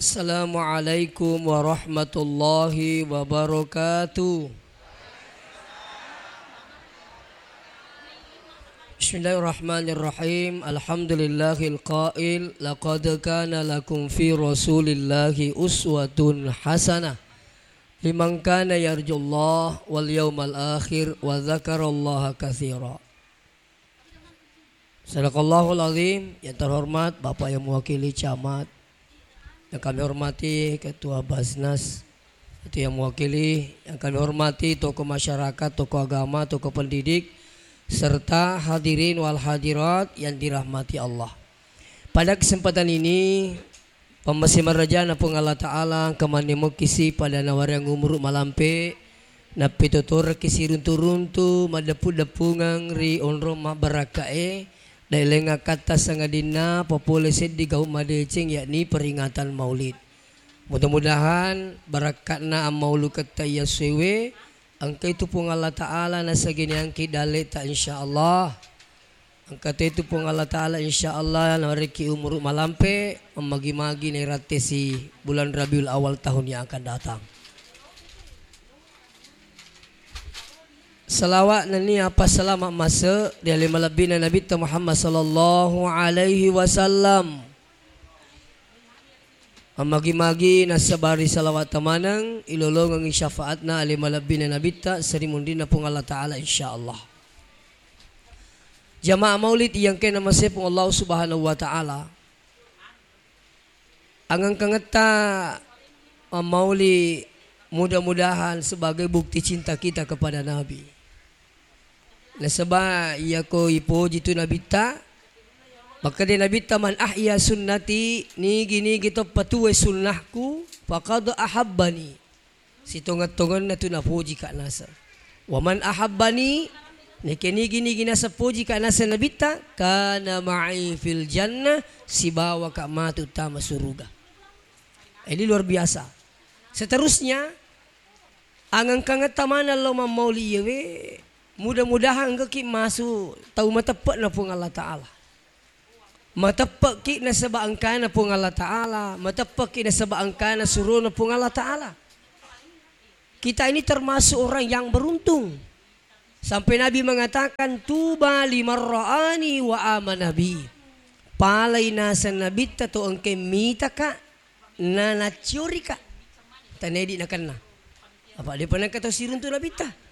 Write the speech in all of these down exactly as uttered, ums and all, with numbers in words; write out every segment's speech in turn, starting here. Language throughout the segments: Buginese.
Assalamualaikum warahmatullahi wabarakatuh. Bismillahirrahmanirrahim. Alhamdulillahil qail, "Laqad kana lakum fi Rasulillahi uswatun hasanah liman kana yarjullaha wal yaumal akhir wa dzakarallaha katsira." Sadaqallahul azim. Yang terhormat Bapak yang mewakili Camat, yang kami hormati Ketua Basnas, itu yang mewakili, yang kami hormati tokoh masyarakat, tokoh agama, tokoh pendidik, serta hadirin wal hadirat yang dirahmati Allah. Pada kesempatan ini, pammase marajana Puang Allah Ta'ala, engka mannemokkisi pada nawareang umuru malampe, nappetotorekki siruntu-runtu, maddeppu-deppungeng ri onrong mabbarakka'e, daeleng akkatta sangadinna papole seddi gau madeceng, yakni peringatan Maulid. Mudah-mudahan barakka'na ammauluketta iya suewe, engka itu Puang Allah Ta'ala nasageniangki dalle'ta, insyaallah. Engka to itu Puang Allah Ta'ala, insyaallah, nawarekki umuru malampe, mammagi-magi nairattesi bulan Rabiul Awal tahun yang akan datang. Salawat nennia passalama masse ri ale malebbina Nabitta Muhammad sallallahu alaihi wasallam. Mammagi-magi nassabari salawat tamaneng, ilolongengngi syafaatna ale malebbina Nabitta seri munrinna Puang Allah Ta'ala, insyaallah. Jamaah Maulid yang kena masepung Allah Subhanahu wa Ta'ala. Angengkangetta mammauli mudah-mudahan sebagai bukti cinta kita kepada Nabi. Nasaba iyako ipoji tu Nabitta, makkeda Nabitta, "Man ahya sunnati," nigi-nigi to patuwe sunnahku, "faqad ahabbani." Sitongeng-tongenna tu napojika naseng. "Wa man ahabbani," neke nigi-nigi naseng pojika naseng Nabitta, "kana ma'i fil jannah," sibawaka matu tama suruga. Ini luar biasa. Seterusnya, angengkangetta maneng lao mammauli iyewe, mudah-mudahan engkaki masu tau mateppe'na Puang Allah Ta'ala. Mateppe'ki nasaba engkana Puang Allah Ta'ala, mateppe'ki nasaba engkana surona Puang Allah Ta'ala. Kita ini termasuk orang yang beruntung. Sampai Nabi mengatakan, "Tuba liman ra'ani wa amana bi." Palai naseng Nabitta to engke mitaka na nacciorika. Tanedi nakenna. Apa depa nengka tau siruntu Nabitta?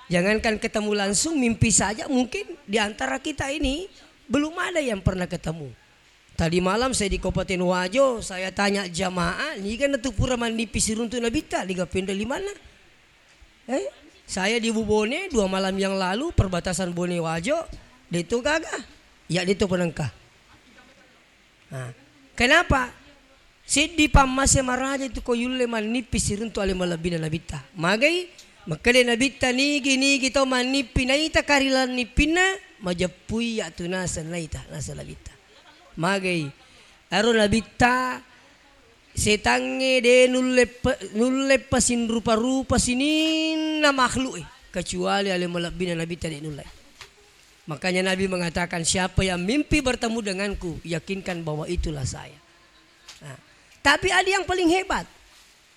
Jangankan ketemu langsung, mimpi saja mungkin di antara kita ini belum ada yang pernah ketemu. Tadi malam saya di Kabupaten Wajo, saya tanya jamaah, niga natu pura mannipi siruntu Nabitta, niga penre limanna? Eh, saya di Bubone dua malam yang lalu, perbatasan Bone Wajo, de to gaga. Ya de to penengka. Nah, kenapa? Seddi pammase maraja itu ko yulle mannippi siruntu ale malebbina Nabitta. Magai? Makkeda Nabitta, "Nigi-nigi to mannippi naita karilan nippinna, majeppui ya tu naseng naita," naseng Nabitta. Magai? Ero Nabitta, setangnge de nulle pe-, nulle pasinrupa-rupa sininna makhluk e, kecuali ale malebbina Nabitta de nulle. Makanya Nabi mengatakan, "Siapa yang mimpi bertemu denganku, yakinkan bahwa itulah saya." Nah, tapi ada yang paling hebat.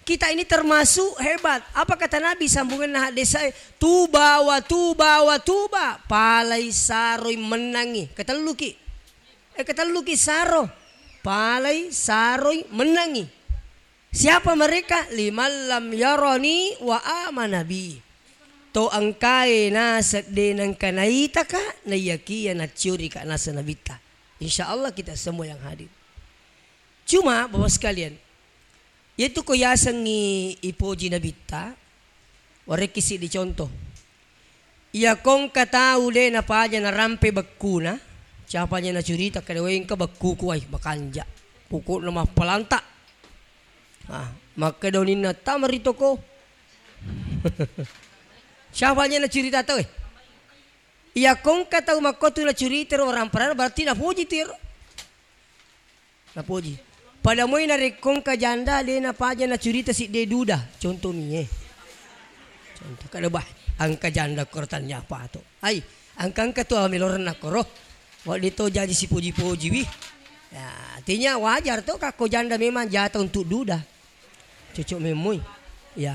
Kita ini termasuk hebat. Apa kata Nabi sambunganna haddesae? "Tuba wa tuba wa tuba." Palai saroi mennangi. Ketelluki. Eh, ketelluki saro. Palai saroi mennangi. Siapa mereka? "Liman lam yarani wa amana bi." To engkae naseng de nengka naitaka, naiyakia nacciorika naseng Nabitta. Insya Allah kita semua yang hadir. Cuma, Bapak sekalian, yaitu ko yasengngi ipoji Nabitta, warekki siddi contoh. Iya kongka tau de napaja narampe bekkuna, capanya nacurita kada wengka bekkuku ai makanja. Pokokna mappalanta. Ah, makkeda uninna tama ri toko. Capanya nacurita tau e. Iya kongka tau makkotu nacurita ro orang parana berarti napoji tu ero. Napoji. Pada moi narekko engka janda, de napaja nacurita sidde duda. Contoh mie. Contoh kada bah, engka janda koro tanya apa to. Ai, engka-engka tu amelorenna koro. Wadde to jaji sipoji-poji wi. Ya, artinya wajar to, kakko janda memang jatah untuk duda. Cocok memoi. Ya.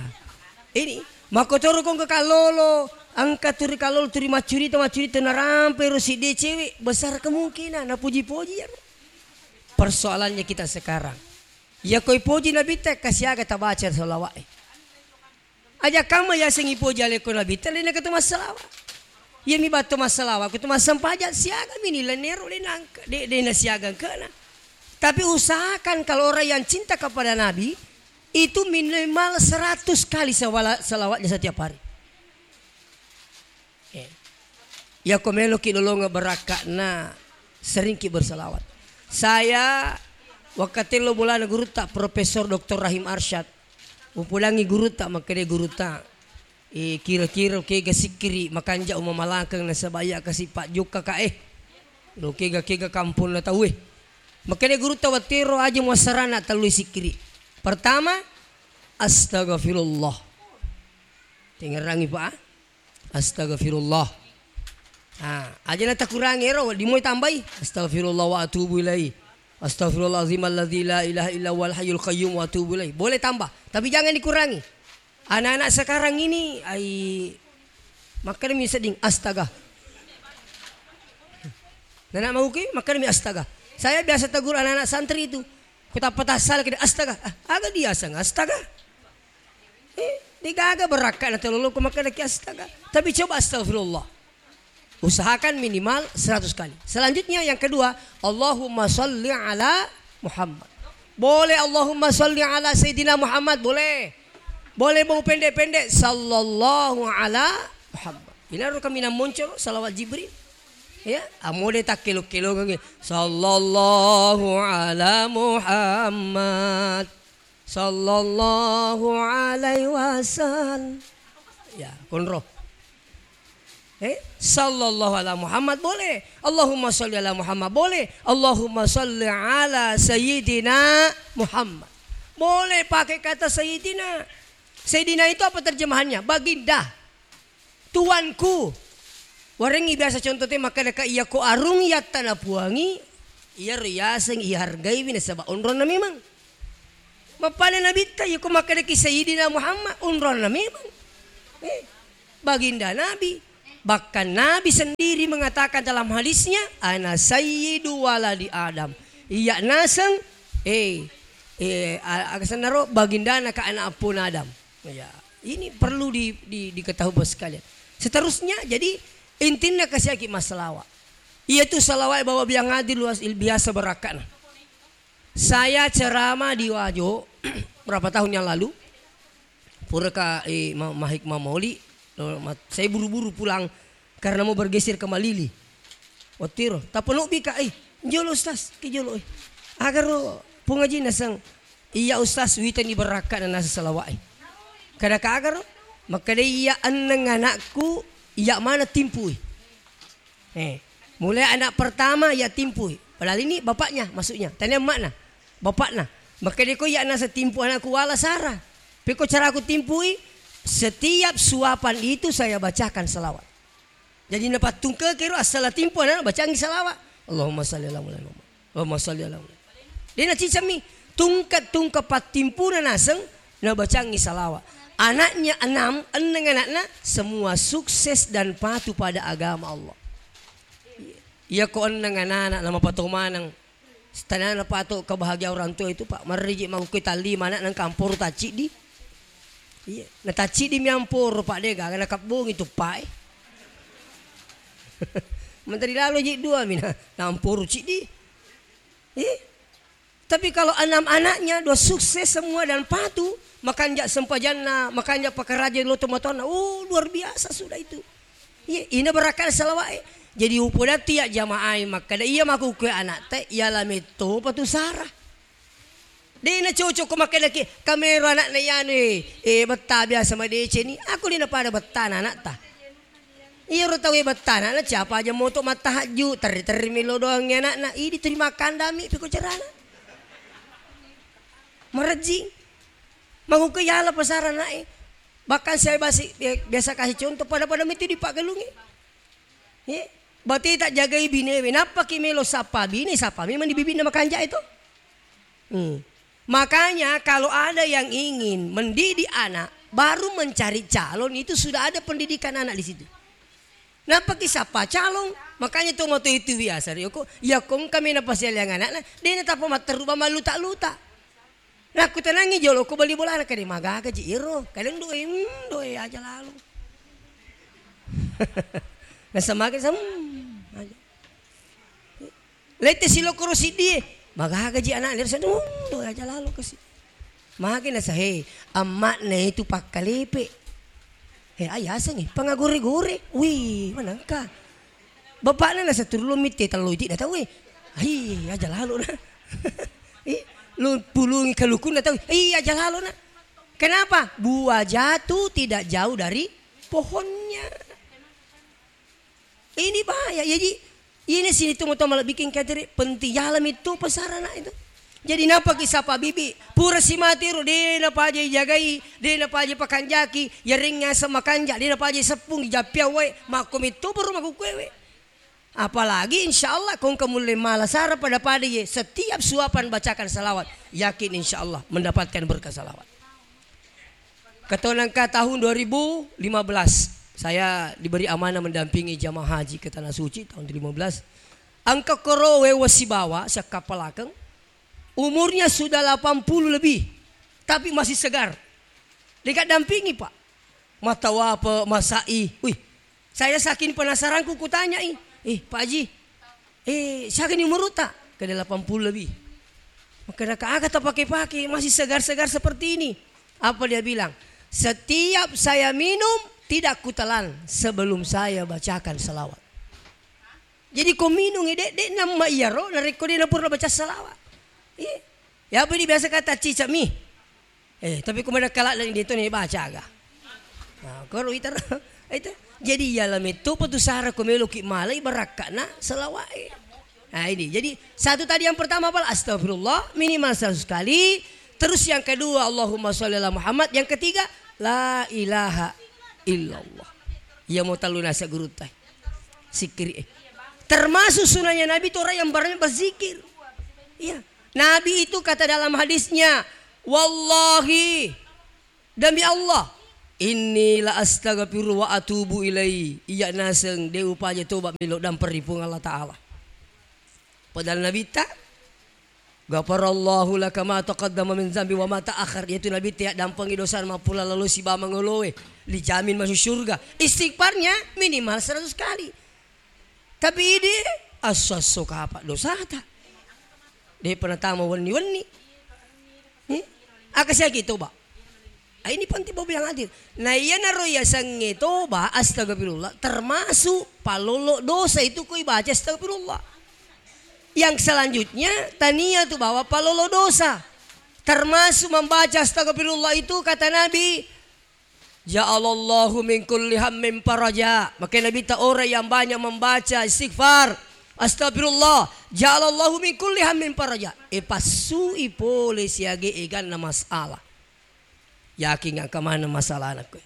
Ini, makkotoro ko engka kallolo, engka turi kallolo, turi maccurita, maccurita, narampe ro sidde cewek, besar kemungkinan napuji-puji ya. Persoalannya kita sekarang. Ya koi poji Nabitta, kasiaga tabaca salawat e. Aja kamma yaseng ipoji alekko Nabitta, de' nengka to massalawa. Iyami batto massalawa, ko to massempajang, siaga mini lennero, de' nangka, de', de' nasiaga engkana. Tapi usahakan kalau orang yang cinta kepada Nabi, itu minimal seratus kali sawala-, salawatnya setiap hari. Eh. Yako meloki lolongeng barakka'na, seringki bersalawat. Saya, wakkatello bolana gurutta Profesor Doktor Rahim Arsyad, upodangngi gurutta, makkeda gurutta, eh, kira-kira kega sikkiri makanja umamalakeng nasaba iya kasi pajjokka ka, eh. Lo kega-kega kamponna tauwe. Makkeda gurutta, wattero aja muassarana tellui sikkiri. Pertama, astagfirullah. Tengerangi, Pak. Astagfirullah. Ah, aja na takurangi ero, dimoi tambai. Astagfirullah wa atubu ilaih. Astagfirullahaladzim alladzi la ilaha illa huwal hayyul qayyum wa atubu ilaih. Boleh tambah, tapi jangan dikurangi. Anak-anak sekarang ini, ai, makkadami sedding, astaga. Nana mauki, makkadami astaga. Saya biasa tegur anak-anak santri itu. Ku tappa tassala kede, astaga. Ah, aga diaseng astaga. Eh, degaga barakka'na teloloko makkedaki astaga. Tapi coba astagfirullah. Usahakan minimal seratus kali. Selanjutnya yang kedua, Allahumma salli ala Muhammad. Boleh Allahumma salli ala Sayyidina Muhammad, boleh. Boleh mau pendek-pendek, sallallahu ala Muhammad. Inaro kami namoncoro salawat Jibril. Ya, amode takkelo-kelongengi. Sallallahu ala Muhammad. Sallallahu alaihi wasallam. Ya, konro. Eh, sallallahu ala Muhammad boleh. Allahumma salli ala Muhammad boleh. Allahumma salli ala Sayyidina Muhammad. Boleh pakai kata Sayyidina. Sayyidina itu apa terjemahannya? Baginda. Tuanku. Warengngi biasa contoh te makkeda ka, iya ko arung yattana puangi, iya ro yaseng ihargaiwi nasaba onronna memang. Mappada Nabitta, iya ko makkedaki Sayyidina Muhammad, onronna memang. Eh, baginda Nabi. Bahkan Nabi sendiri mengatakan dalam hadisnya, "Ana sayyidu waladi Adam." Iya naseng, eh, eh, a-, aga sennaro, bagindana ka anak appona Adam. Ya, ini perlu di, di, diketahui, Bapak sekalian. Seterusnya, jadi intinna kasiaki massalawa. Iyatu salawat bawa biang hadir luas il-, biasa barakkana. Saya ceramah di Wajo berapa tahun yang lalu. Pura ka, eh, ma-, mahik mamoli, lo, mat-, saya buru-buru pulang karena mau bergeser ke Malili. Wattiro, tapenobbi ka, eh, jolo Ustaz, ke jolo, eh. Agaro Puang Haji naseng, iya Ustaz, witani barakkana nasa salawat, eh. Kada ka agaro, makkeda iya enneng anakku, iya mana timpui. Eh, mulai anak pertama iya timpui. Padahal ini bapaknya, maksudnya. Tania emakna, bapakna. Makkeda ko iya nasa timpu anakku wala sara. Peko caraku timpui, setiap suapan itu saya bacakan salawat. Jadi napattungke kero assala timpu anak bacangi salawat. Allahumma salli ala Muhammad. Allahumma salli ala Muhammad. Dia nacicami tungke-tungke pattimpuna naseng nabacangi salawat. Anaknya enam, enneng anakna, semua sukses dan patuh pada agama Allah. Iya ko enneng anak-anak nama pato maneng. Setanana pato kebahagiaan orang tua itu, Pak. Marriji mangkui talli mana nang kamporo tacciddi. Iya, na tacciddi mi amporo, Pak, de gaga nakabbongi tuppae. Menteri lalo ji dua mina, namporo ciddi. Iya. Tapi kalau enam anaknya dua sukses semua dan patuh, makanja sempajanna, makanja pakaraja lo tomatoanna, oh, luar biasa sudah itu. Iya, ina barakkana salawat e. Jadi upodatti ya jamaah e makkada iya makkukue anak te, iya lametto patu sara. De na cocok ko makkada ki, kamero anak na yanu e, e, betta biasa madeceni, aku de na pada betta na anak ta. Iyaro tauwe bettana na siapa aja moto mattahajju, terri-terri melo doang anakna, idi tuli makkandami piko carana. Marejjing. Maguke yala pasara nae. Bahkan saya basi, biasa kasih contoh, pada-pada mitu dipaggalungi. Ye. Bate tak jagai binewe, nappaki melo sappa bine, sappa memang di bibinna makanja itu. Hmm. Makanya kalau ada yang ingin mendidik anak, baru mencari calon itu sudah ada pendidikan anak di situ. Nappaki sappa calon, makanya to mato itu biasa ri oko, ya kongka mena pasialiang anakna, dena tapa matteru ba maluta-luta. Nakkutanangngi jolo ko bali bolana, kade magaga ji iro, kadang doe, hmm, doe aja lalo. Nasamaki sam aja. Lette silokoro siddie, magaga ji anak, hmm, doe aja lalo kasi. Magi nasahe, amma'na itu pakkalepe. He, ayasengi pangagore-gore. Wih, manangka. Bapakna nasa turun lo mitte tello iti datang, weh. Hai, aja lalo na. Ih, lu pulungi kalukunna tau. Ih, aja lalo na. Kenapa? Buah jatuh tidak jauh dari pohonnya. Ini bahaya. Jadi, ini sini tu moto malah bikin katere penting. Jalan itu pesarana itu. Jadi, napa kisah Pak Bibi? Pura si mati ro, de na paja jagai, de na paja pakanjaki, ya ring ngaseng makanja, de na paja seppung, jappia wae, makko mitto baru makkukuewe. Apalagi insya Allah kongka mulle mala sara pada-pada ye, setiap suapan bacakan salawat, yakin insya Allah mendapatkan berkah salawat. Ketonangka tahun dua ribu lima belas, saya diberi amanah mendampingi jamaah haji ke Tanah Suci tahun dua ribu lima belas. Engka korowe wasibawa siakkapalakeng, umurnya sudah delapan puluh lebih, tapi masih segar. Dekat dampingi, Pak. Matawape, masai. Wih, saya saking penasaranku kutanyai, "Eh, Pak Haji, eh, siaga ni umurutta?" Ke delapan puluh lebih. Maka, "Aga tapake-pake, masih segar-segar seperti ini?" Apa dia bilang? "Setiap saya minum, tidak kutelan sebelum saya bacakan salawat." Jadi ko minung e, de, de namma iyaro, narekko de napura baca salawat. Iya. Ya apa ini biasa kata cicak mi? Eh, tapi ko mada kala dan itu nih baca aga. Nah, koro ita, itu. Jadi ya lame tu petu sara ko melo ki malai barakkana salawat. Nah, ini. Jadi satu tadi yang pertama apa? Astagfirullah minimal seratus kali. Terus yang kedua Allahumma sholli ala Muhammad. Yang ketiga la ilaha illallah. Ya mau talu nasa guru tai. Sikiri, eh. Termasuk sunnahnya Nabi itu orang yang banyak berzikir. Iya. Nabi itu kata dalam hadisnya, "Wallahi, demi Allah, inni la astaghfiru wa atubu ilai." Iya naseng de upaja toba melo damperi Puang Allah Ta'ala. Padahal Nabi ta "Ghafarallahu laka ma taqaddama min zambi wa ma ta'akhkhar." Yaitu Nabi te yaddampengi dosa mappula lalo siba mangoloe, dijamin masuk surga. Istighfarnya minimal seratus kali. Tapi idi asso-asso kapa dosata. De pernah tama wenni-wenni. Eh? Aka siaki toba. Ah, ini penting, Bapak yang hadir. Nah, iyanaro yasengnge toba, astagfirullah, termasuk palolo dosa itu koi baca astagfirullah. Yang selanjutnya, tania tu bawa palolo dosa. Termasuk membaca astagfirullah itu, kata Nabi, "Ja'alallahu min kulli hammin faraja." Maka Nabi ta orang yang banyak membaca istighfar, astagfirullah, "Ja'alallahu min kulli hammin faraja." E passui pole siage eganna masalah. Yakin engka maneng masalahna koe.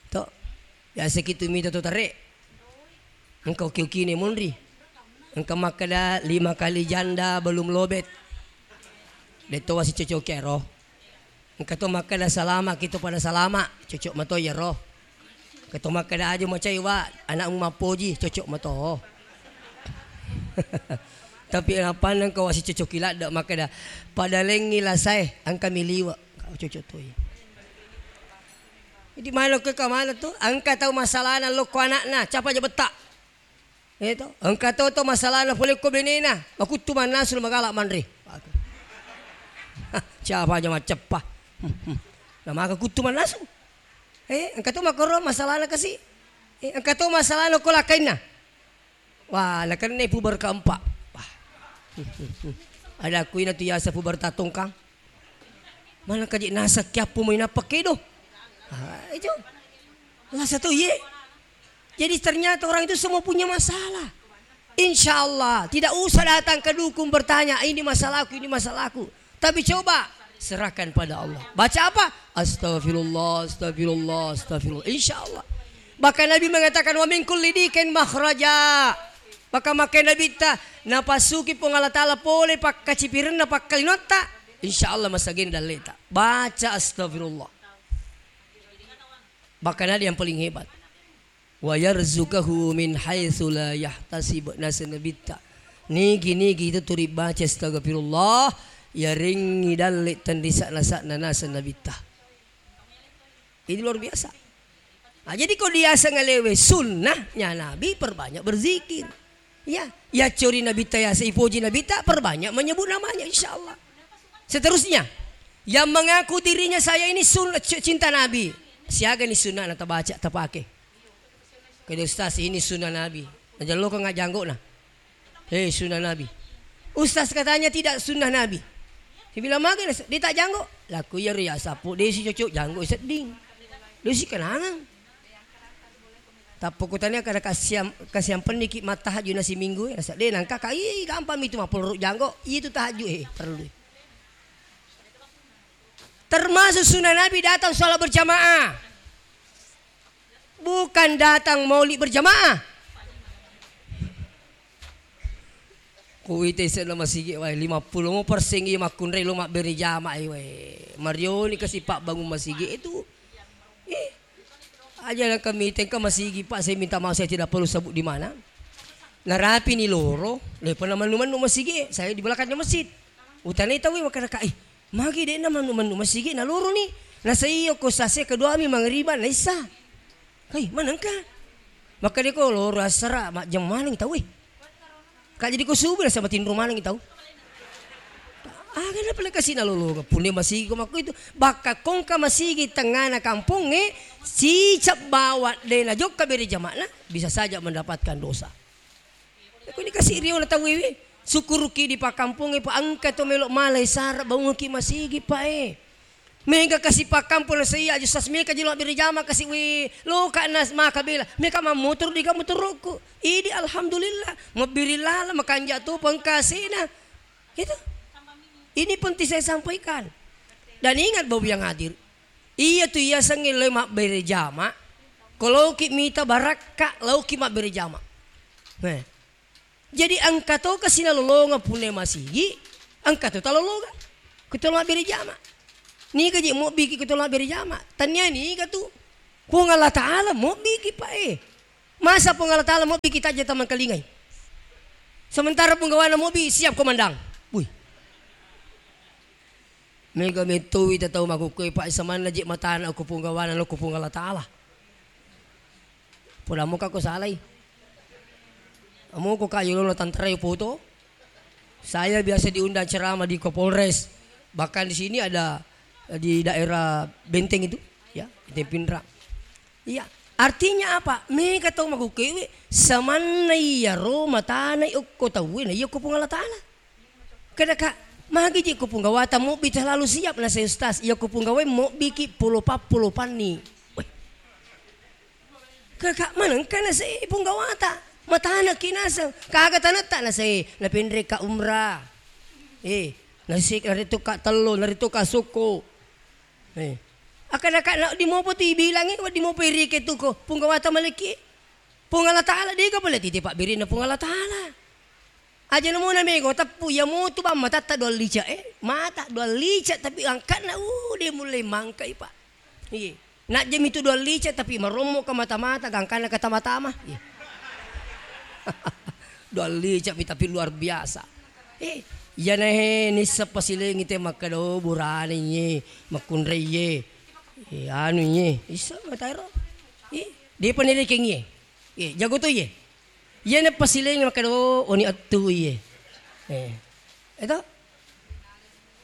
To. Biasa kitu mita to tare. Engka uki-ukine monri. Engka makkeda lima kali janda belum lobet. Detto wasi cocoki ero. Engka to makkeda salama kitu pada salama. Cocok mato yero. Keto makkeda aju macai wa, anakmu mappoji, cocok mato. Tapi napanneng ko wasi cocoki ladde makkeda, pada lengngi lasae, engka mi liwe. Kau cocok toi. Jadi mana ke ka mana tu? Engka tau masalahna lokko anakna, capa aja betta. Eh to, engka to to masalahna pole ko benena, makuttu mannasu magala manre. Capa aja maceppa. Na maka kuttu mannasu. Eh, engka to makkoro masalahna kasi. Eh, engka to masalahna ko lakainna. Wah, nakenna puber keempat. Wah. Ada kuina tu yasa puber tatongkang. Mana kaji nasa kiappu mai nappa kedo. Ah, itu. Lasa to ye. Jadi ternyata orang itu semua punya masalah. Insya Allah, tidak usah datang ke dukun bertanya, "Ini masalahku, ini masalahku." Tapi coba serahkan pada Allah. Baca apa? Astagfirullah, astagfirullah, astagfirullah. Insya Allah. Bahkan Nabi mengatakan, "Wa min kulli dikin makhraja." Maka makkeda Nabitta, "Napassuki Puang Allah Ta'ala pole pakkacipirenna pakkalinotta, insya Allah masagena dalleta." Baca astagfirullah. Bahkan ada yang paling hebat. "Wa yarzuqahu min haitsu la yahtasib." Naseng Nabitta, nigi-nigi itu turi baca astagfirullah, yarengngi dalle tenrisa nasa'na naseng Nabitta. Ini luar biasa. Nah, jadi ko diaseng alewe sunnahnya Nabi, perbanyak berzikir. Ya, ya cori Nabitta, ya seipoji Nabitta, perbanyak menyebut namanya, insya Allah. Seterusnya, yang mengaku dirinya saya ini sun-, c-, cinta Nabi, siaga ni sunnah na tabaca, tapake. Kede ustaz, ini sunnah Nabi. Najallo ko ngajanggo na. Hei, sunnah Nabi. Ustaz katanya tidak sunnah Nabi. Saya bilang, "Magi, Nas? Dia tak janggo." Laku, "Iya, Ria, sapu, dia si cocok janggo sedding. Dia si kenangan." Tappo kutanya kada kasiam-, kasiampenni ki mattahajud nasi minggu, eh. Nasa, "Deh, nangka ka, ih, gampang itu mah, peluru janggo. Itu tahajud, eh, perlu." Termasuk sunnah Nabi datang sholat berjamaah. Bukan datang maulid berjamaah. Kuwita isenna masigi wae, lima puluh persen iya makkunrai lo mabbere jamaah wae. Marioni kasi pabbangun masigi itu. Eh, aja na kami tengka masigi, Pak, saya minta maaf, saya tidak perlu sebut di mana. Narapi ni loro, lepa na mannu-mannu masigi, saya di belakangnya masjid. Utanai tahu, eh, makkeda ka, eh, magi de' na mannu-mannu masigi na loro ni. Nasa iyo ko sase kedua mi mangriban na isa. Hei, manengka? Makkeda ko loro asara majjeng maneng tau, eh. Ka jadi ko subuh nasa matinro maneng tau. Aga na pale kasi na lolonga punna masigi ko makko itu. Bakka kongka masigi tengana kampongnge, cicak bawa de' na jokka bere jama'na, bisa saja mendapatkan dosa. Ko ni kasi riona tau iwi. Sukuruki di pakkampongnge, pa engka to melo malai sara baungki masigi, Pak, eh. Mega kasi pakkampong na saiya aja sas meka jelo bere jama kasi wi loka na maka bela. Meka mammotor di kamu terokku. Idi alhamdulillah. Mabbiri lala makanja tu pengkasina. Itu. Ini penting saya sampaikan. Dan ingat Bapak yang hadir. Iya tu iya sengi le mabbere jama. Koloki mita barakka lauki mabbere jama. Nah. Jadi engka to kasi nalolongeng punna masigi, engka to talolongeng. Ko to mabbere jama. Niga je mobbiki ko to mabbere jama. Tania niga tu. Puang Allah Ta'ala mobbiki, Pak, eh. Masa Puang Allah Ta'ala mobbiki tajja tamangkalingai. Sementara punggawana mobbi siap komandang. Wih. Mega mettowi tatau makukkue, Pak, samanna je matana ko punggawana lo ko Puang Allah Ta'ala. Poda moka ko salai. Amo ko ka yolona tantara yo foto. Saya biasa diundang ceramah di Kapolres. Bahkan di sini ada, eh, di daerah Benteng itu, ya, Benteng Pinrang. Iya, artinya apa? Mega tau makukkewe samanna iyaro matana okko tauwe na iya ko Puang Allah Ta'ala. Kada ka, magi je ko punggawata mobbi terlalu siap na saya ustaz. Iya ko punggawai mobbi ki polo pappo lo panni. Weh. Kaka manengka nasai punggawata. Matana ki naseng. Kaga tanetta nasai. Napenre ka umrah. Eh, nasi naritu ka tello, naritu ka sukku. Eh. Akana ka na di mopo tu ibilangi, wa di mopo irike tu ko. Punggawata maleki. Puang Allah Ta'ala dega pale titi pabbirina Puang Allah Ta'ala. Aja namuna mego teppu, iya mutu bang matatta dua lica, eh. Mata dua lica tapi angkatna, uh, de mulle mangkai, Pak. Iye. Najjemi tu dua lica tapi marommo ka mata-mata, gangkanna ka tama-tama. Iye. Dua lica pi tapi luar biasa. Eh, iyana he nissa pasilengi te makkeda, oh, burane ye, makkunrai ye. Eh, anu ye, issa mataero. Eh, de panelekeng ye. Eh, jago to ye. Iyana pasilengi makkeda, oh, oni attu iye. Eh. Eto?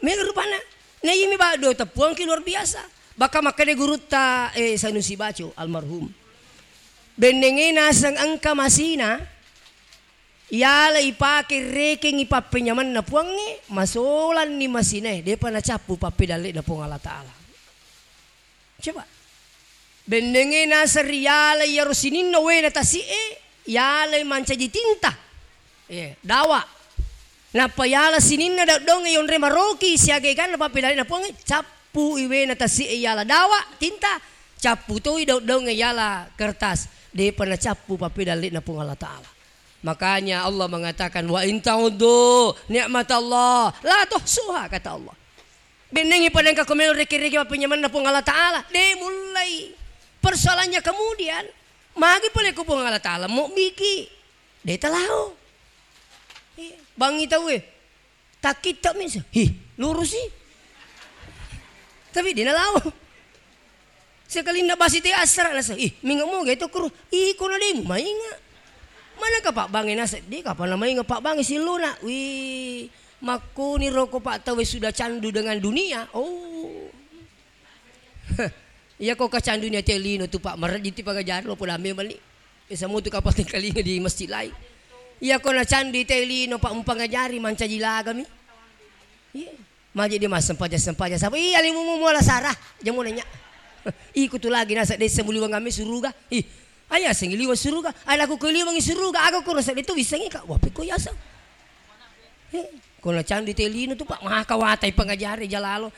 Mega rupanna. Na iyami baddo teppuangki luar biasa. Baka makkeda gurutta, eh, Sanusi Baco almarhum. Bennenge naseng engka masina, iyala ipake rekengi pappenyamanna puangnge, masolanni masinae, depa nacappu pappedalle'na Puang Allah Ta'ala. Coba. Bennenge naseng riyala iyaro sininna waena tasi'e, yalai mancaji tinta. Eh, dawa. Nappa yala sininna daddongnge yonre maroki siaga eganna pappedalle'na Puangnge, cappu i waena tasi'e yala dawa, tinta. Cappu toi daung-daungnge yala kertas, depa nacappu pappedalle' na Puang Allah Ta'ala. Makanya Allah mengatakan, "Wa in ta'uddu ni'matallah la tuhsuha," kata Allah. Bennengngi pada engka ko melo reke-reke mappenyamenna Puang Allah Ta'ala, de' mullai. Persoalannya kemudian, magi pole ko Puang Allah Ta'ala mobbiki? De' talao. Iya. Bangngi tauwe. Takkitta' mi, hi, lurusi. Tapi de' nalao. Sekalinna basi te assara' nasa, ih, minga moga itu kuru, iko na de' mumainga. Mana ka pabbangnge nasa, de' kapang namainga pabbangnge sillona. Wih, makkuni roko Pak tauwe sudah candu dengan dunia. Oh. Iya ko kacanduni ate lino tu Pak, marejjiti pangajari lo poda memang ni. Biasa mutu kapang tengkalinga di masjid lain. Iya ko nacandu ite lino Pak mupangajari mancaji lagami. Iya. Maje' de' massempajang-sempajang sapa? Iya, limu mu muala sara. Jamu nanya. Iko tu lagi nasa desa muliwang ame suruga. Ih, aya sengi liwang suruga. Aya laku ko liwangi suruga. Aga ko rasa de' tu wissengi ka'. Wape ko yasa. He, ko nacandu ite lino tu Pak, maka watai pangajari jalalo.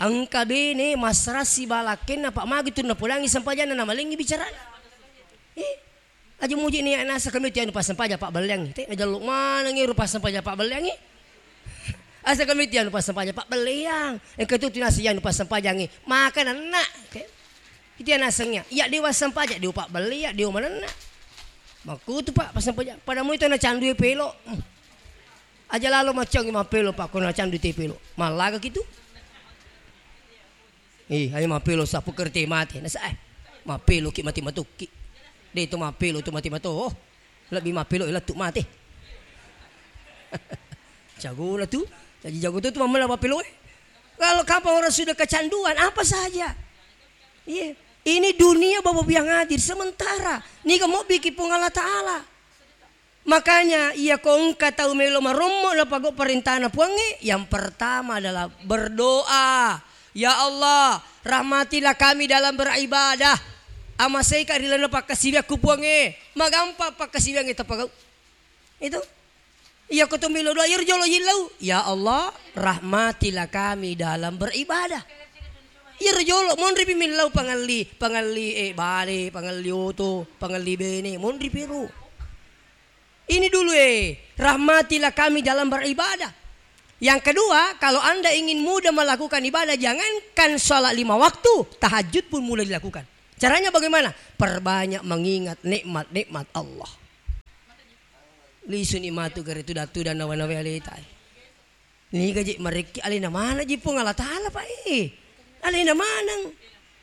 Engka bene masrassi balakkenna Pak magi tu napodangi sempajanna namalengi bicarana. Eh, aja muji ni nasa kami tianu passempaja Pak belleangi. Te najallu manengi ru passempaja Pak belleangi. Asa kami tianu passempaja Pak belleang. Engka tu tinasi yanu passempajangi. Maka nanna. Te. Iti nasengnya. Iya dewa sempaja dewa Pak belle iya dewa manenna. Makkutu Pak passempaja. Pada mu itu na candu pelo. Hmm. Aja lalo macang mappelo Pak ko na candu te pelo. Mallaga kitu. Eh, ayo mappelo sapu kerte mate. Nasa eh. Mappelo ki mati matukki. De' to mappelo to mati mato. Oh. Lebbi mappelo lettu mate. Jagona tu. Jadi jago tu tu mamma mappelo eh. Kalau kapang orang sudah kecanduan apa saja. Iya. Ini dunia Bapak yang hadir sementara. Niga mobbiki Puang Allah Ta'ala. Makanya, iya ko engka tau melo marommo napagau parentana Puangnge, yang pertama adalah berdoa, "Ya Allah, rahmatilah kami dalam beribadah. Amaseika ri lalenna pakkasiwiakku Puangnge." Magampang pakkasiwiangnge tapagau. Itu. Iya ko to melo doa, iyaro jolo yillau, "Ya Allah, rahmatilah kami dalam beribadah." Iyaro jolo monripi millau pangelli, pangelli, eh, bale, pangelli oto, pangelli bene, monripi ro. Ini dulu, eh, rahmatilah kami dalam beribadah. Yang kedua, kalau Anda ingin mudah melakukan ibadah, jangankan salat lima waktu, tahajud pun mudah dilakukan. Caranya bagaimana? Perbanyak mengingat nikmat-nikmat Allah. Lisuni matu gare tudang-tudang nawa-nawa aleta. Niga je marekki alena maneng ji Puang Allah Ta'ala, Pak, eh. Alena maneng.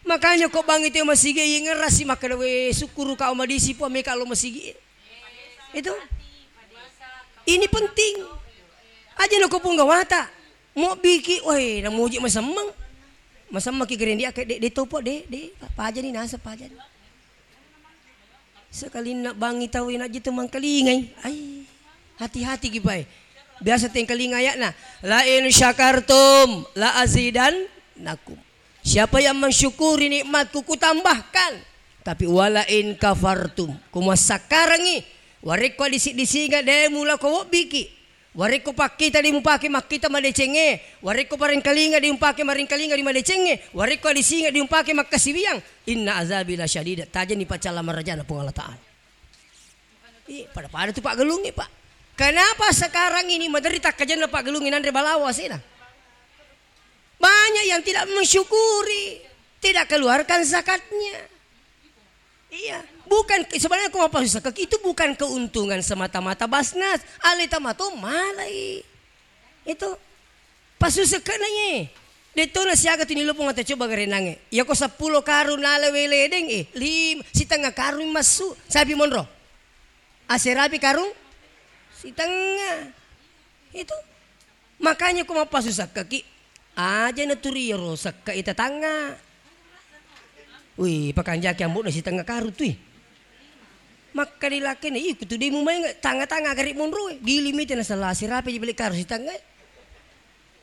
Makanya ko bangi teo masigi, iya ngerasi makkeda, "We, sukkuruka o madisi Puang, meka lo masigi." Itu. Ini penting. Aja nako Puang gawata. Mobbiki, weh, namuji masemmeng. Masemmeki gerendi ake, de, de topo, de, de, pajani nasa, pajani. Sekalinna bangi tau najji tu mangkalingai. Ai, hati-hati ki, Pak. Biasa tengkalinga ayatna, "La in syakartum la azidannakum." Siapa yang mensyukuri nikmatku, kutambahkan. Tapi wala in kafartum, kumassakkarangi, warekko disi-disinga de mulako wobbiki. Warekko pakkita de mupake makkita madecengnge, warekko parengkalinga de mupake marengkalinga ri madecengnge, warekko adisinga de mupake makkasiwiang, inna azabi lasyadid, tajani pacalla marajana Puang Allah Ta'ala. Ih, pada-pada tu paggalungnge, Pak. Kenapa sekarang ini maderri takkajenna paggalungnge nanre balawo asena? Banyak yang tidak mensyukuri, tidak keluarkan zakatnya. Iya, bukan, sebenarnya ko mappasusakka, itu bukan keuntungan semata-mata Basnas. Aleta mato malai. Itu pasusakka na ye. Detto na siaga tu nilopong ata coba garenangnge. Iya ko seppulo karung nala wele deng, eh, lim-, sitengnga karung massu. Sapi monro. Aserapi karung sitengnga. Itu. Makanya ko mappasu sekkaki, aja naturi iyaro sekka ita tangnga. Wih, pakanjaki ambo'na sitengnga karung tui. Makkeda lakkena, ih, kutu demu maengnga tangnga-tangnga gare monroe. Gili mite nasala sirapi ji beli karung sitengnga.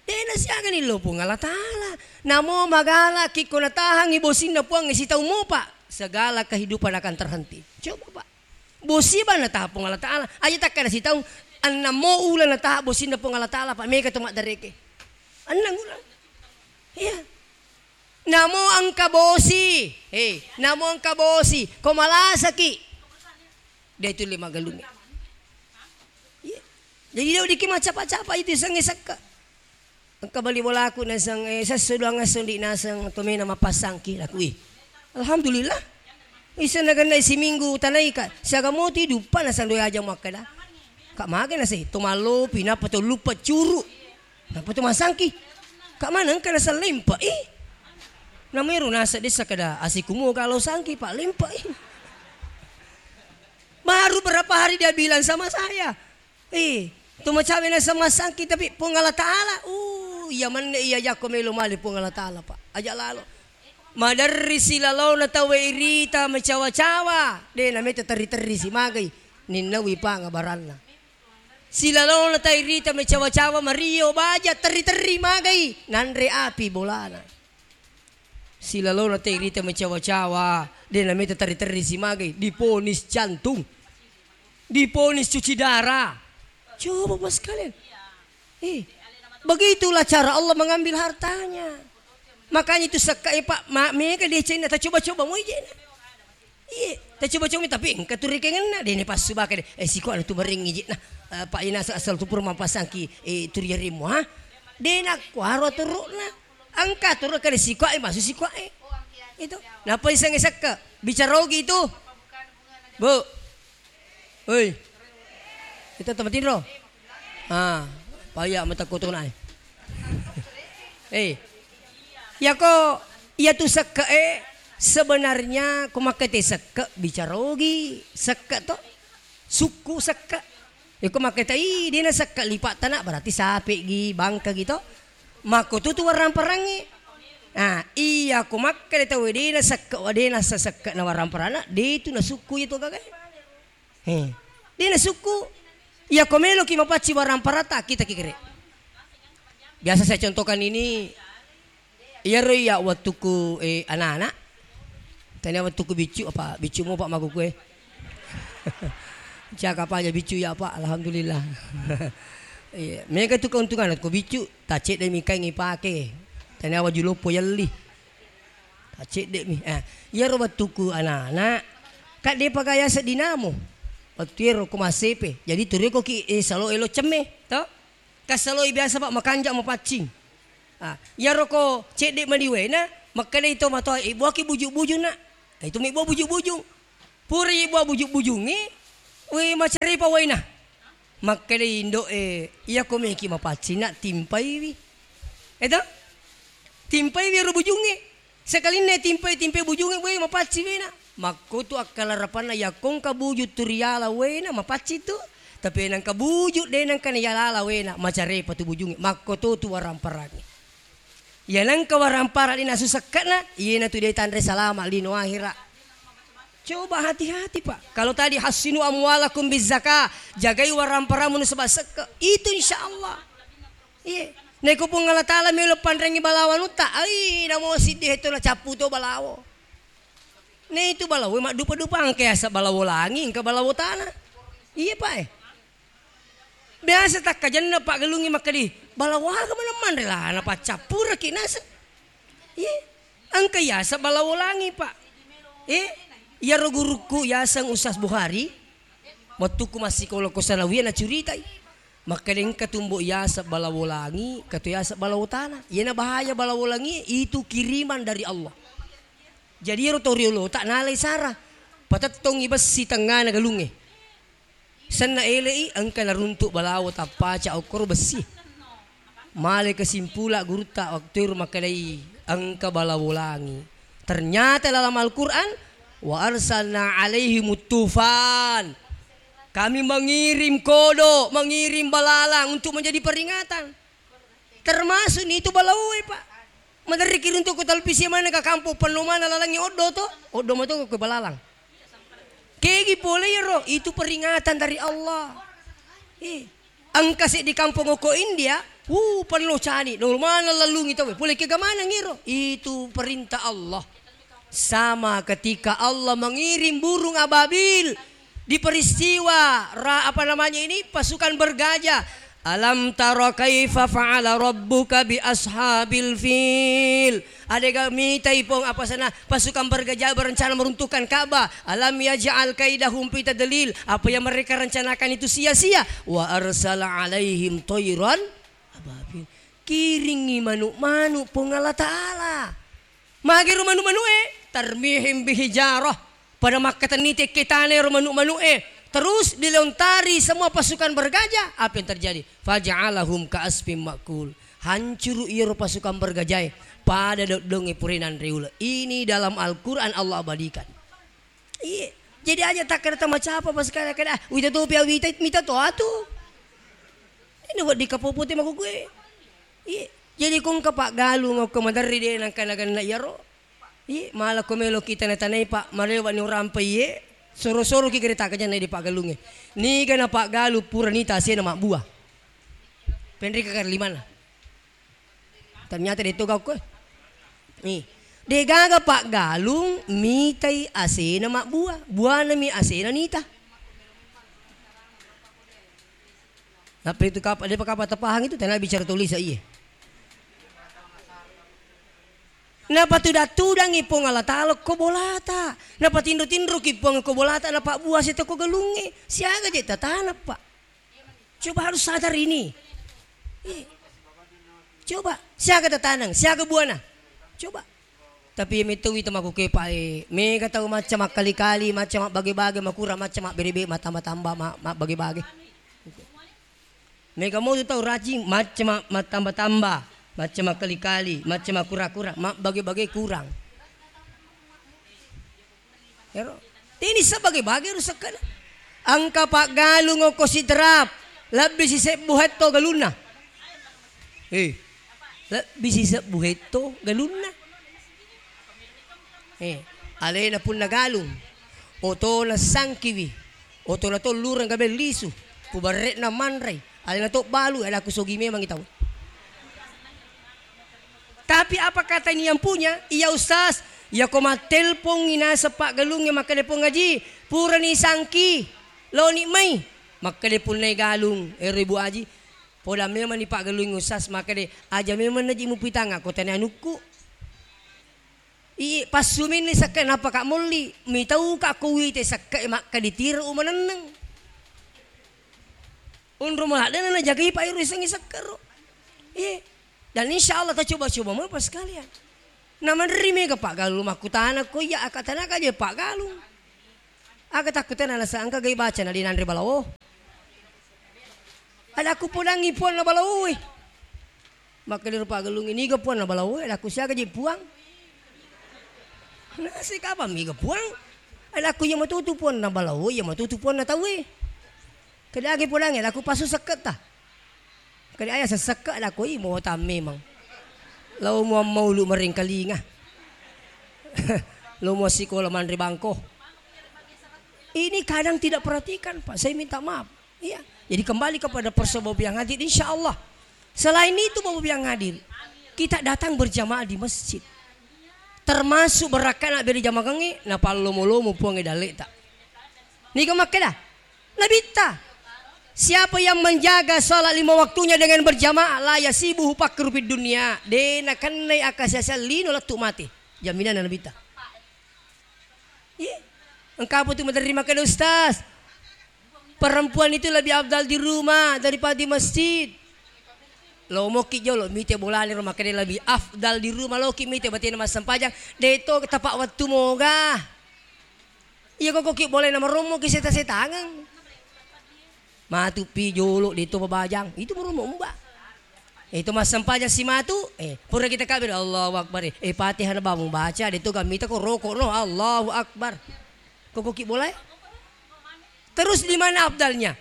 Dena siaga ni lo Puang Allah Ta'ala. Namo magala ki ko natahangi bosinna Puang sitau mopa, segala kehidupan akan terhenti. Coba, Pak. Bosi bang nataha Puang Allah Ta'ala. Aja takkada sitaung, ennammo uleng nataha bosinna Puang Allah Ta'ala, Pak, mega to maddareke. Enneng uleng. Iya. Namo engka bosi, eh, namo engka bosi, ko malasaki. De' tulle maggalungngi. Iya. Jadi de' weddikki maccapa-capa itu isengnge sekke'. Engka bali bolaku naseng, eh, sesso duang esso ndi' naseng to mena mappassangki laku, ih. Alhamdulillah. Isenna gennai siminggu tanaika, siaga moti duppa naseng doi aja makkeda. Ka' mage naseng to mallopi nappa to luppa curu'. Nappa to massangki. Ka' maneng engka naseng lempa, ih. Namero naseng dessa kada asiku moga lo sangki pa' lempa, ih. Baru berapa hari dia bilang sama saya, eh, to macawe naseng massangki tapi Puang Allah Ta'ala, uh, iya menne iya jakko melo male Puang Allah Ta'ala, Pak. Aja' lalo. Maderri silalona tauwe irita macawa-cawa, de' nameta terri-terri si magai, ninnawi panga baranna. Silalona tairita macawa-cawa mario baja terri-terri magai, nanre api bolana. Silalona tairita macawa-cawa, de' nameta terri-terri si magai, diponis jantung. Diponis cuci darah. Coba, Bapak sekalian. Eh, begitulah cara Allah mengambil hartanya. Makanya itu sekke', eh, Pak, ma-, mega decenna, tacoba-coba moi jena. Iya, tacoba-coba, tapi engka tu rekengenna, de' ne passu baka de'. Eh, siko anu tu marengngi jena. Eh, Pak, ina asal, asal tu pura mappasangki, eh, tu riarimmu, ha? De' nakkuaro aturu'na. Engka aturu'na kade siko, eh, masu siko, eh. Itu. Napa isengnge sekke'? Bicara ogi itu. Bu. Oi. Itu tempat tinro. Ah, paya mata koto nae. Eh. Yako, iya tu sekke', eh, sebenarnya ko makkate sekke' bicara ogi sekke' to. Sukku sekke'. Yako makkate, ih, de' na sekke' lipa' tana, berarti sape' gi, bangka gi to. Makko tu tu warang-parangnge. Nah, iya ko makkate tau de' na sekke', de' na sekke' na warang-paranna, de' tu na sukku itu gaga. He. De' nasukku. Iya ko meloki mapacci barang paratta, kita ki kere. Biasa saya contohkan ini, iyaro iya wettukku, eh, anak-anak. Tania wettukku biccu, apa biccu mo, Pak, makuku, eh. Cakap aja biccu ya, Pak, alhamdulillah. Iya, mega tu keuntungan ko biccu, tacedde mi kaing ipake. Tania waju loppo yelli. Tacedde mi. Eh, iyaro wettukku anak-anak, kan depa gaya seddinamo. Wettu ero ko massepe. Jadi tureko ki, eh, salo elo cemme, to? Kasaloi biasa, Pak, makanja mapaccing. Ah, iyaro ko cedde mani waena, makkedai to matoa, eh, buaki buju-buju, Nak. Itu mi bua buju-buju. Pura ibua buju-bujungnge, we, macarepa waena. Makkedai indo'e, iyako meki mapaccing, Nak, timpaiwi. Eto? Timpaiwi ero bujungnge. Sekalinna timpai, timpai bujungnge, we, mapaccing waena. Makkotu akkalarapanna, yakko engka buju tu riala waena, mapaccing tu. Tapi nengka buju de nengka niyalala waena, macarepa tu bujungnge. Makkoto tu waramparangnge. Iya nengka warampara de nasu sekke'na, iyanatu de tanre salama lino ahera. Coba hati-hati, Pak. Kalau tadi, "Hassinu amwalakum bizzakah," jagai waramparamu nasaba sekke'. Itu insya Allah. Iya. Naiko Puang Allah Ta'ala melo panrengi balawanutta, ai, namo siddi hetto nacappu to balawo. Na itu balawo maddupa-dupa, engka yaseng balawo langi, engka balawo tana. Iya, Pak, eh. Biasa takkajanna paggalungngi makkedi, "Balawo aga maneng manre lah, napaccappuraki naseng." Iya. Engka yaseng balawo langi, Pak. Eh, iyaro gurukku yaseng Ustaz Bukhari, wettukku massikola ko sanawiyah nacuritai. Makkeda engka tumbo yaseng balawo langi, engka to yaseng balawo tana. Iyana bahaya balawo langi itu kiriman dari Allah. Jadi iyaro to riolota nalai sara. Patettongi bessi tengngana galungnge. Senna ele'i engka naruntuk balawo tappaca okkoro bessi. Male kesimpula gurutta waktu ero makkedai engka balawo langi. Ternyata dalam Al-Quran, "Wa arsalna alaihimut tufan." Kami mengirim kodok, mengirim balalang untuk menjadi peringatan. Termasuk ni itu balawoe, Pak. Maderri ki runtu ko televisi mana ka kampung, penno mana lalangi oddo to, oddo mato ko balalang. Kegi pole iyaro, itu peringatan dari Allah. Eh, engka seddi kampung ko India, wuh, penno cani, nol mana lalungi to, pole kega maneng iro, itu perintah Allah. Sama ketika Allah mengirim burung ababil di peristiwa ra-, apa namanya ini, pasukan bergajah, Alam tara kaifa fa'ala rabbuka bi ashabil fil. Adega mitai Puang apa sana pasukan bergajah berencana meruntuhkan Ka'bah. Alam yaj'al kaidahum fi tadlil. Apa yang mereka rencanakan itu sia-sia. Wa arsala alaihim thairan ababil. Kiringi manu'-manu' Puang Allah Ta'ala. Magi ro manu'-manu'e, tarmihim bihijarah. Pada makkatenni tekke tana ro manu'-manu'e. Terus dilontari semua pasukan bergajah. Apa yang terjadi? Faja'alahum ka'asfim ma'kul. Hancuru iyaro pasukan bergajae. Pada doddongnge pura nanre ula. Ini dalam Al-Quran Allah abadikan. Iye. Jadi aja takkeda tamacapa pas kala kada, ah, wita topi awita mita to atu. Ini wedding kapopote makukue. Iye. Jadi kongka paggalung okko maderri de nangka naganna iyaro. Iye, mala ko melo kita na tanai pa marewa ni urampe iye. Soro-soro ki gere takajanna di paggalunge. Niga na paggalung pura nita asena mabbua. Penrika kar limana. Ternyata de to gauko. Ih. Degaga paggalung mitai asena mabbua, buanami asena nita. Nappa itu kapa, depa kapa tapahang itu, tena bicara tulis iye. Napatuda-tudangi Puang Allah Ta'ala ko bolata. Napatinro-tinroki Puang ko bolata, napabbua seta ko galungnge. Siaga je tatanappa. Coba harus sadar ini. Iya. Coba, siaga tatanang, siaga buana. Coba. Tapi iya metto wita makukepa e, mega tau macca makkali-kali, macca mabbage-bage, makura macca mabbere-bere, matamba-tamba, ma-, mabbage-bage. Mega motu tau rajing, macca ma-, mattamba-tamba, macca makkali-kali, macca makkura-kura, mabbage-bage kurang. Ero. Tini sebagai bage rusakkana. Engka paggalung okko Sidrap, lebbi sisebbu hetto galunna. Eh, lebbi sisebbu hetto galunna. Eh, alena punna galung, otona sangkiwi, otona to lureng gabe lisu, pubarre'na manrei, alena to balu, ada kusogi memang tau. Tapi apa kata ini yang punya? Iya ustaz, iya ko mattelpongi naseng paggalungnge makkeda Puang Haji, purani sangki, loni mai. Makkeda punnai galung, ero Ibu Haji, poda memang ni paggalungnge ustaz, makkeda aja memang naji mupitanga ko tani anukku. Ii, passuminni sekke napaka molli, mitauka ko wite sekke makka ditiro umanenneng. Unru maladdena najagai pa iro isengi sekkero. Iye. Dan insya Allah tacoba-coba mo pas sekalian. Namanri mega paggalung makkutana ko iya aka tanaka je paggalung. Aga takkutana nasa engka gai baca na dinanre balawo. Ada ku pudangi puanna balawo. Makkedaro paggalungnge, "Niga puanna balawoe?" Adakku, "Siaga je puang?" "Nasi kapang miga puang?" Adakku, "Iya matutu puanna balawoe, iya matutu puanna tauwe." Kede age pudangnge, adakku, "Pasu sekketta." Kede aya sessekke, adakku, "Ih, motang memang. Lao mua maulu maringkalinga. Lao mua sikola manre bangko." Ini kadang tidak perhatikan, Pak. Saya minta maaf. Iya. Jadi kembali kepada persoalan yang hadir, insya Allah. Selain itu, Bapak yang hadir, kita datang berjamaah di masjid. Termasuk berakaat beri jamaah, napallomo-lomo Puang dalle'ta. Niga makkeda? Nabitta. Siapa yang menjaga salat lima waktunya dengan berjamaah, la yasibuhu fakru fid dunya. De nakennai akasiasa lino lettu mate. Jaminan Nabitta. Iya. Engka apa tu maderri makkeda, "Ustaz, perempuan itu lebih afdal di rumah daripada di masjid." Lo moki jolo mite bolana ro makkeda lebih afdal di rumah, loki mite batena massempajang, de to tapa wettu moga. Iya koko ki bolana marommo ki seta-setangeng. Matu pi jolo de to babajang. Itu marommo umba. Eh, itu massempajang si matu, eh, pura kita kabir, Allahu Akbar. Eh, Fatihah na bamu baca, de to gamita ko roko no, Allahu Akbar. Koko ki bolai? Terus di mana afdalnya?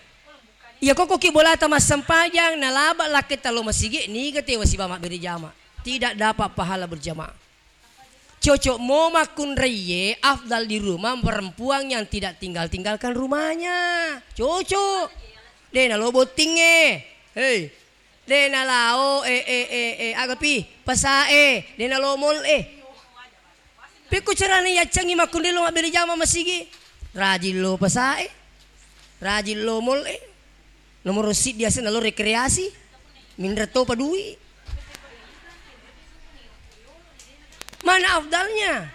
Iya koko ki bolata massempajang, nalaba lakketta lo masigi, niga tewa siba mabbere jama. Tidak dapat pahala berjamaah. Cocok mo makkunraiye, afdal di rumah perempuan yang tidak tinggal-tinggalkan rumahnya. Cocok. De nalo bottingnge. Hei. De nalao, eh, eh, eh, eh, aga pi? Pasae. De nalo mall e. Pekko carana yaccangi makkunrai lo mabbere jama masigi? Rajin lo pasae. Rajin lo mall e. Nomoro siddi aseng nalo rekreasi, minreng topa dui. Mana afdalnya?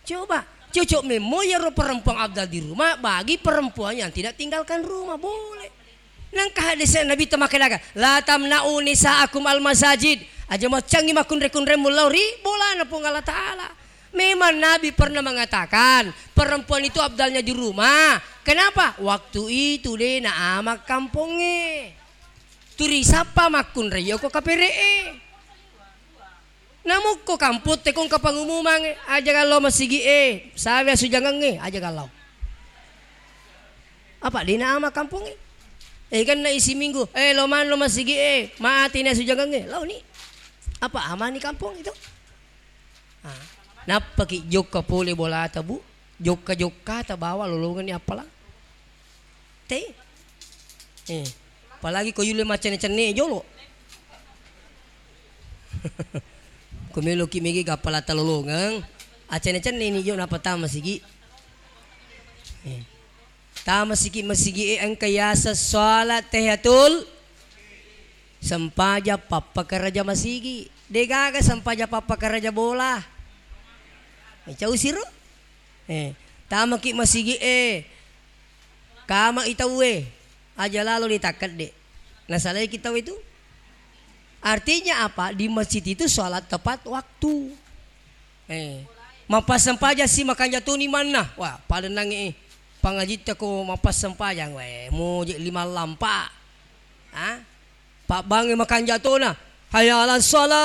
Coba, cocok memmo iyaro perempuan afdal di rumah bagi perempuan yang tidak tinggalkan rumah, boleh. Nengka hadis Nabi temakkeda, "La tamna'u nisa'akum al masajid." Aja maccangi makkunre-kunremu lao ri bolana Puang Allah Ta'ala. Memang Nabi pernah mengatakan, perempuan itu afdalnya di rumah. Kenapa? Waktu itu de na ama kampongnge. Turi sappa makkunrai yoko kapere'e. Namukko kampung tekong kapangumumangnge, aja gallo masigi e, sawe asujangengnge, aja gallo. Apa de na ama kampongnge? Eh, kan na isi minggu, eh, lo manno masigi e, mati na asujangengnge, launi. Apa amani kampong itu? Ah, nappaki jokka pole bolata, Bu. Jokka-jokkata bawa lolongenni appalang. Te. Eh, apalagi ko yulle maccenne-cenne jolo. Ko meloki mege gappalata lolongeng, accenne-cenne ni jo nappa tama sigi. Eh. Tama siki masigi e engka yaseng salat tahiyatul sempajang pappakaraja masigi. Degaga sempajang pappakaraja bola. Mencau siro? Eh, tamaki masigi e. Kama i tauwe. Aja lalo ditakkedde. Nasalaiki tau itu. Artinya apa? Di masjid itu salat tepat waktu. Eh, mappassempajang si makanja toni manna. Wah, pada nange, eh, pangajitta ko mappassempajang. Weh, moje lima lampa. Ah? Pabbange makanja tona. Hayya 'alas shalah.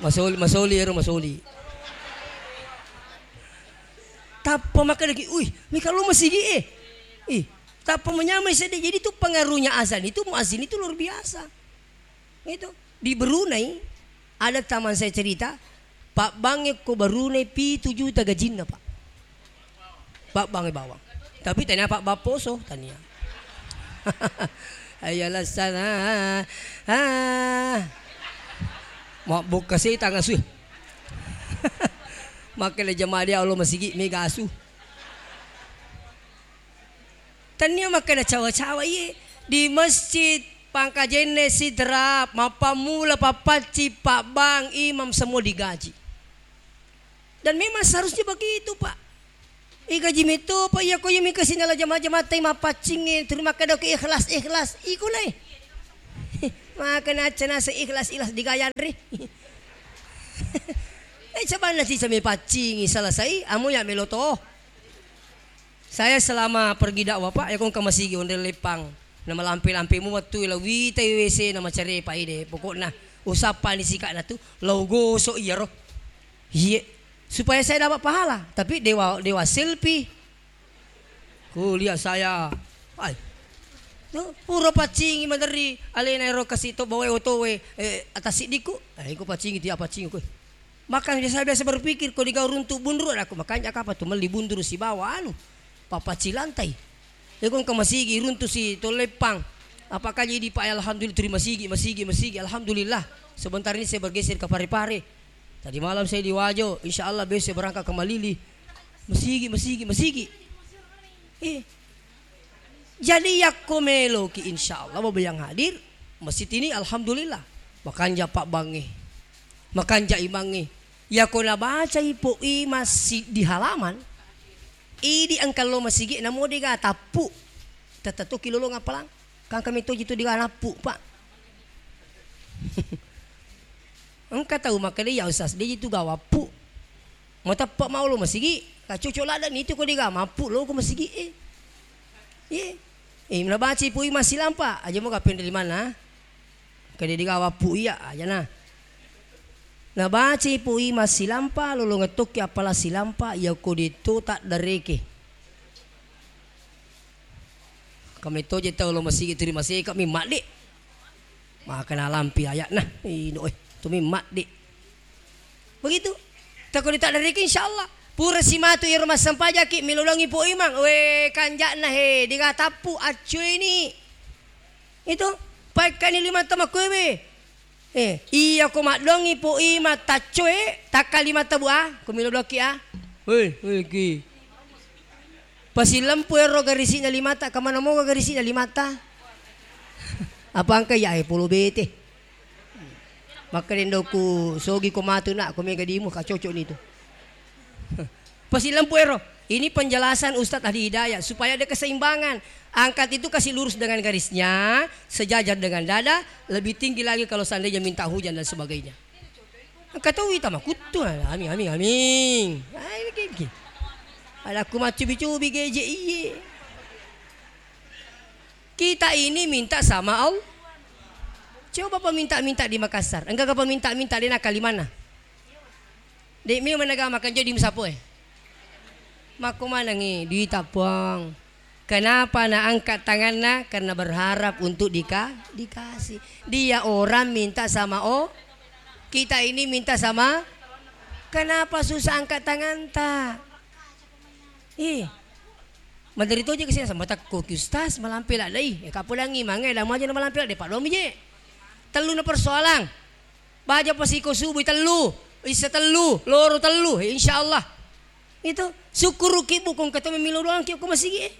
Masoli, masoli ero masoli. Tappa makkedaki, "Uih, mika lo masigi e." Ih, tappa menyamai sedde. Jadi itu pengaruhnya azan itu, muazin itu luar biasa. Itu di Brunei ada teman saya cerita, Pak Bang ko Brunei pitu juta gajinna, Pak. Pak Bang bawang. Tapi tania Pak Bapposo, tania. Ayo lassana. Ah. Mabbokka setang asu. Makkeda jamaah dia Allah masigi mega asu. Tania makkeda cawa-cawa iye di masjid Pangkajenne Sidra, mappammula pappaccing, pabbang, imam semua digaji. Dan memang seharusnya begitu, Pak. Igaji metto, Pak, iya ko iya mika sinala jama-jamatta mappaccingnge, tuli makkeda ko ikhlas, ikhlas, iko lai. Maka nacca nasa ikhlas, ikhlas digayanre. Eh, sabanna sisa mepaccingi, selesai, amo ya melo to. Saya selama pergi dakwah, Pak, ya kong ke masigi onde lepang. Na malampe-lampe mu wettu la wita W C na macare Pak ide. Pokokna usappa ni sikakna tu, lau gosok iyaro. Iye, supaya saya dapat pahala, tapi dewa, dewa selfie. Kuliah saya. Ai. No, pura paccingi maderri alena ero kasi to bawa otowe, eh, atas siddiku. Eh, iko paccingi tiap paccingi kowe. Maka biasa-biasa berpikir, ko digau runtu bunru, aku makanja kapa tu melli bunru sibawa anu, papaci lantai. Iko engka masigi runtu si Tolleppang. Apakah jadi Pak, alhamdulillah, turi masigi, masigi, masigi, alhamdulillah. Sebentar ini saya bergeser ke Parepare. Tadi malam saya di Wajo, insya Allah besok berangkat ke Malili. Masigi, masigi, masigi. Eh, jadi yakko meloki, insya Allah, Bapak yang hadir, masjid ini alhamdulillah. Makanja pabbangnge, makanja imangnge. Yakko nabacai po i masjid di halaman, idi engka lo masigi namo dega tappu. Tette tokki lolong appalang. Kangka metoji tu dega nappu, Pak. Engka tau makkeda, "Ya Ustaz, de itu gawappu." Mateppe mau lo masigi, ka cocok ladde ni itu ko dega mappu lo ko masigi e. Ye. Eh, nabacai pui masilampa, aja mo gapenre di mana? Kede dega wappu iya, aja na. Nabacai pui masilampa, lolongeng tokki appala silampa, iya ko de to taddareke. Kametto je tau lo masigi turi maseka mi madde. Maka nalampi aya'na. Ino, eh, tumi madde. Begitu. Tako ditaddariki, insyaallah. Pura simatu iyaro massempajaki, milolongi po imang. We, kanja'na he, dega tappu, accuini. Itu, paekkani lima tama kuewe. Eh, iya ko maddoangngi po imang taccoe, takka lima tabu a, ko melo doki a. Hei, hei, ki. Pasilempu ero garisi'na limata, kamana moga garisi'na limata? Apa engka iya, eh, polo bete. Makkedai ndoku, "Sogi ko matu, Nak, ko mega dimu, ka cocok ni tu." Pasilempu ero. Ini penjelasan Ustadz Ahli Hidayah supaya ada keseimbangan. Angkat itu kasih lurus dengan garisnya, sejajar dengan dada, lebih tinggi lagi kalau seandainya minta hujan dan sebagainya. Engka to wita makuttu, aming, aming, aming. Ah, ini gigi. Ada aku macubi-cubi geje iye. Kita ini minta sama Allah. Coba peminta-minta di Makassar. Enggak ke peminta-minta di Nakalimantan. Dek mi menaga makan jadi musapo eh. Makko manengi duita puang. Kenapa na angkat tanganna? Karena berharap untuk dika-, dikasih. Dia orang minta sama, oh, kita ini minta sama. Kenapa susah angkat tanganta? Ih. Maderi toje kesini sama takko ki ustaz malampe la dai. Eh, kapodangi mangai la maja na malampe la dai, paddomi je. Tellu na persoalan. Baja pasiko subuh tellu, isa tellu, loro tellu, eh, insyaallah. Itu, sukkuruki bukung ketemu milo doang ki ko masigi, eh.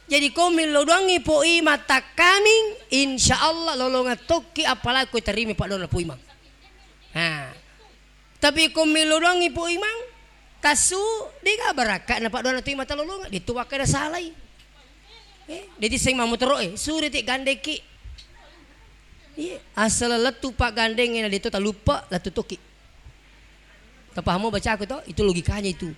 Jadi ko milo doangi po imang takkaming, insyaallah lolongan tokki apalagi ko terima paddoanna po imang. Ha. Tapi ko milo doangi po imang, tassu, dega barakka na paddoanna to imang talolongan, de tu wakkeda salai. Eh, de tisseng mamotoro, eh, suri ti gandeki. Iya, asal lettu paggandengnge na de to taluppa, lettu toki. Tapahamu bacaku to? Itu logikanya itu.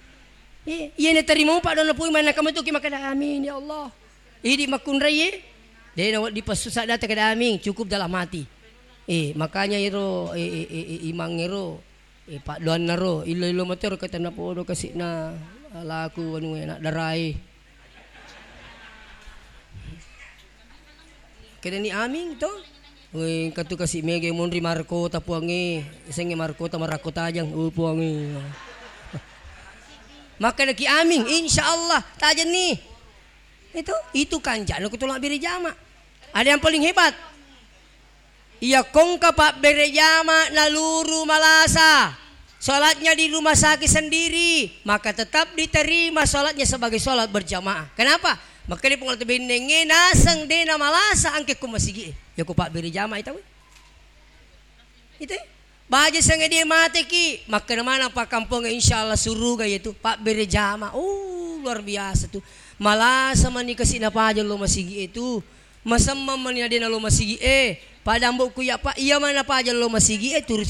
Eh, iya na terima paddoanna po imang, na kamu toki makkeda amin ya Allah. Idi makkunrai, eh. De na wedding passusa data kada amin, cukup dalam hati. Eh, makanya ero, eh, eh, eh, eh, imang ero Eh, paddoanna ro, illo-illo matero katenna podo kasi'na laku anu e, anak darae. Kedani aming to? Weh, engka tu kasi' mega monri marakota puangnge, isengnge marakota, marakko tajang, oh puangnge. Makkedaki aming, insyaallah tajenni. Itu, itu kancana ko tolong beri jama. Ada yang paling hebat. Iya kongka pabbere jama naluru malasa, sholatnya di rumah sakit sendiri, maka tetap diterima sholatnya sebagai sholat berjamaah. Kenapa? Makanya pengalat bennenge naseng dena malasa angke ko masigi e. Ya ko pabbere jama itu. Itu. Baja sangadie mateki, makkeda maneng pakkampong, insyaallah suruga iyatu, pabbere jama. Oh, luar biasa tu. Malasa mani kasi' napaja lo masigi e tu. Masemmeng mani nadena lo masigi e. Pada ambo'ku ya, Pak, iya mana paja lo masigi e, turusi